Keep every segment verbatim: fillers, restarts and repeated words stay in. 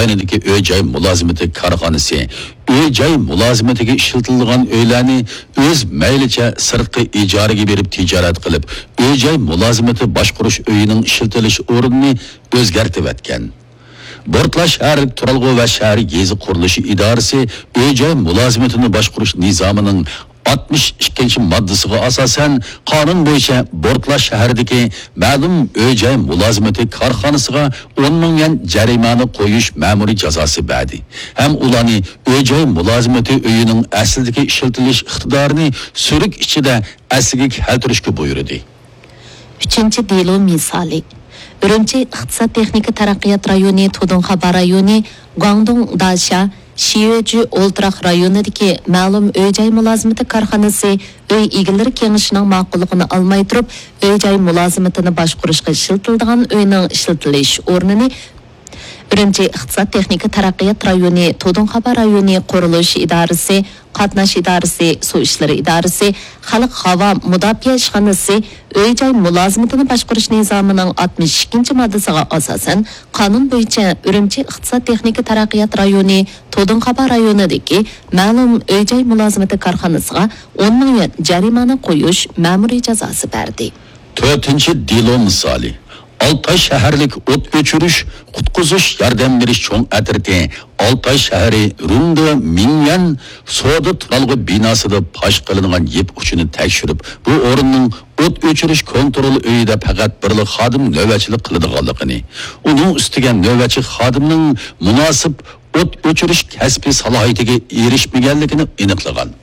رايونىدىكى ئۆي-جاي مۇلازىمىتى كارخانىسى ئۆي-جاي مۇلازىمىتىگە ئىشلىتىلىدىغان ئۆيلەرنى ئۆز مەيلىچە سىرتقا ئىجارىگە بېرىپ تىجارەت قىلىپ، ئۆي-جاي مۇلازىمىتى باشقۇرۇش ئۆيىنىڭ ئىشلىتىلىش ئورنىنى ئۆزگەرتىۋەتكەن. بورتلا شەھەرلىك تۇرالغۇ ۋە شەھەر يېزا قۇرۇلۇشى ئىدارىسى ئۆي-جاي مۇلازىمىتىنى باشقۇرۇش نىزامىنىڭ ئاتمىش ئىككىنچى ماددىسىغا ئاساسەن، قانۇن بويىچە بورتلا شەھىرىدىكى مەلۇم ئۆي-جاي مۇلازىمىتى كارخانىسىغا ئون مىڭ يۈەن جەرىمانە قويۇش مەمۇرىي جازاسى بەردى ھەم ئۇلارنى ئۆي-جاي مۇلازىمىتى ئۆيىنىڭ ئەسلىدىكى ئىشلىتىلىش ئىقتىدارىنى سۈرۈك ئىچىدە ئەسلىگە كەلتۈرۈشكە بۇيرۇدى. ئۈچىنچى دېلو مىسالى. ئۈرۈمچى ئىقتىساد تېخنىكا تەرەققىيات رايونى تۇدۇڭخابا رايونى، گۇاڭدۇڭ داشيا، شىيۆجۈ ئولتۇراق رايونىدىكى مەلۇم ئۆي-جاي مۇلازىمىتى كارخانىسى ئۆي ئىگىلىرى كېڭىشىنىڭ ماقۇللۇقىنى ئالماي تۇرۇپ، ئۆي-جاي مۇلازىمىتىنى باشقۇرۇشقا ئىشلىتىلىدىغان ئۆينىڭ ئىشلىتىلىش ئورنىنى ئۈرۈمچى ئىقتىساد تېخنىكا تەرەققىيات رايونى، تۇدۇڭخابا رايونى قۇرۇلۇش ئىدارىسى، قاتناش ئىدارىسى، سۇ ئىشلىرى ئىدارىسى، خەلق ھاۋا مۇداپىئە ئىشخانىسى، ئۆي-جاي مۇلازىمىتىنى باشقۇرۇش نىزامىنىڭ ئاتمىش ئىككىنچى ماددىسىغا ئاساسەن، قانۇن بويىچە ئۈرۈمچى ئىقتىساد تېخنىكا تەرەققىيات رايونى تۇدۇڭخابا رايونىدىكى مەلۇم ئۆي-جاي مۇلازىمىتى كارخانىسىغا ئون مىڭ يۈەن جەرىمانە قويۇش مەمۇرىي جازاسى بەردى. تۆتىنچى دېلو مىسالى. ئالتاي شەھەرلىك ئوت ئۆچۈرۈش، قۇتقۇزۇش، ياردەم بېرىش چوڭ ئەترىتى ئالتاي شەھىرى رۇندې مىڭيەن سودا تۇرالغۇ بىناسىدا پاش قىلىنغان يىپ ئۇچىنى تەكشۈرۈپ، بۇ ئورۇننىڭ ئوت ئۆچۈرۈش كونترول ئۆيىدە پەقەت بىرلا خادىم نۆۋەتچىلىك قىلىدىغانلىقىنى، ئۇنىڭ ئۈستىگە نۆۋەتچى خادىمنىڭ مۇناسىپ ئوت ئۆچۈرۈش كەسپىي سالاھىيىتىگە ئېرىشمىگەنلىكىنى ئېنىقلىغان.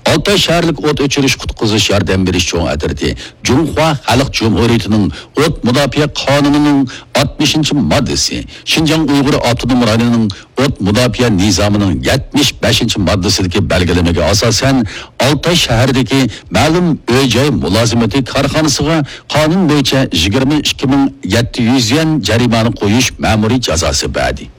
ئالتاي شەھەرلىك ئوت ئۆچۈرۈش قۇتقۇزۇش ياردەم بېرىش چوڭ ئەترىتى جۇڭخۇا خەلق جۇمھۇرىيىتىنىڭ ئوت مۇداپىئە قانۇنىنىڭ ئاتمىشىنچى ماددىسى، شىنجاڭ ئۇيغۇر ئاپتونوم رايونىنىڭ ئوت مۇداپىئە نىزامىنىڭ يەتمىش بەشىنچى ماددىسىدىكى بەلگىلىمىگە ئاساسەن، ئالتاي شەھىرىدىكى مەلۇم ئۆي-جاي مۇلازىمىتى كارخانىسىغا قانۇن بويىچە يىگىرمە ئىككى مىڭ يەتتە يۈز يۈەن جەرىمانە قويۇش مەمۇرىي جازاسى بەردى.